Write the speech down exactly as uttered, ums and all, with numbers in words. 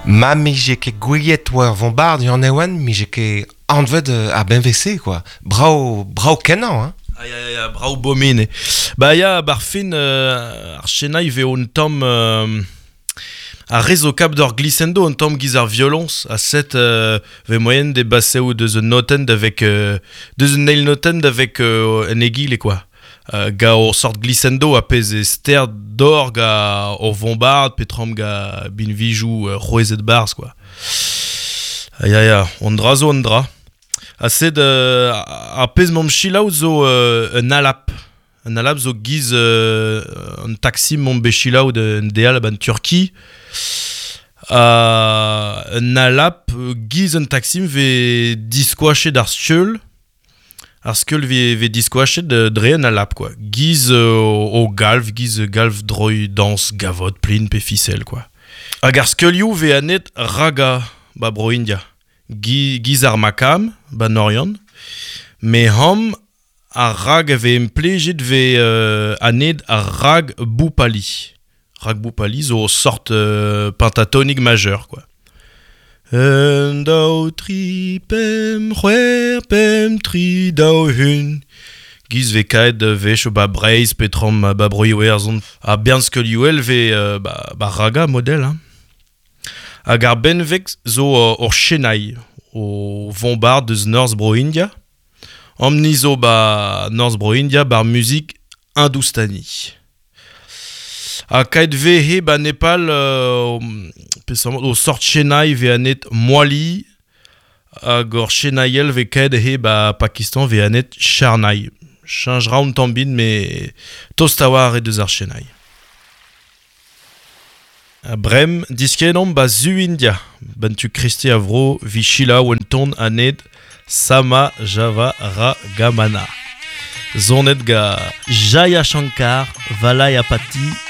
Ma mije ket gouiet war vombard yann ewan, mije ket anvet ar benvese, quoi. Brao, brao kenañ, hein. Ah ya, ya, ya, brao bomine. Ba ya, bar fin, euh, ar chenai ve un tamm... Euh, a rez o kap d'or glissando un tamm giz ar violons a set euh, ve moyen de basseou deus un noten avec euh, deus un nail noten avec euh, un egile quoi. Euh, ga o sort glissando a pez e ster d'or ga o vombard petram ga bin vijou euh, c'hwezet barz quoi. Ah ya ya, on dra zo on dra. A sed euh, a pez mom chilaou zo euh, un alap. Un alap zo giz euh, un taxi mom be chilaou de un deal ban Turki. Uh, un alap giz un taxi ve diskoachet ar skeul. Ar skeul ve, ve diskoachet dre un alap quoi. Giz euh, o galv, giz galv droi dans gavot plin pe ficelle quoi. Hag ar skeulioù ve anet raga ba bro India. Gi, giz ar makam ba Norion. Me ham ar rag ve implejet ve euh, anet ar rag boupali. Rag boupali zo sort euh, pentatonique majeur quoi. Un daou tri pem c'hwer pem tri daou hun. Giz ve kaet vech ba Breizh petram ba broioù erzon. A bern skeulioù ve euh, ba, ba raga model hein. Hag ar benveg zo euh, ur chenai o vombard deus North Bro India. Amni zo ba North Bro India bar muzik hindoustani. Ha kaet ve he ba Nepal euh, o sort chenai ve anet moali hag ur chenaiel ve kaet he ba Pakistan ve anet charnai. Change ra un tambin me tost a war e deus ar chenai. A brem diskenomp ba zu India. Ban tu Christi avro vi chila ouen ton anet Sama Java Ragamana. Zonet ga Jaya Shankar Valayapati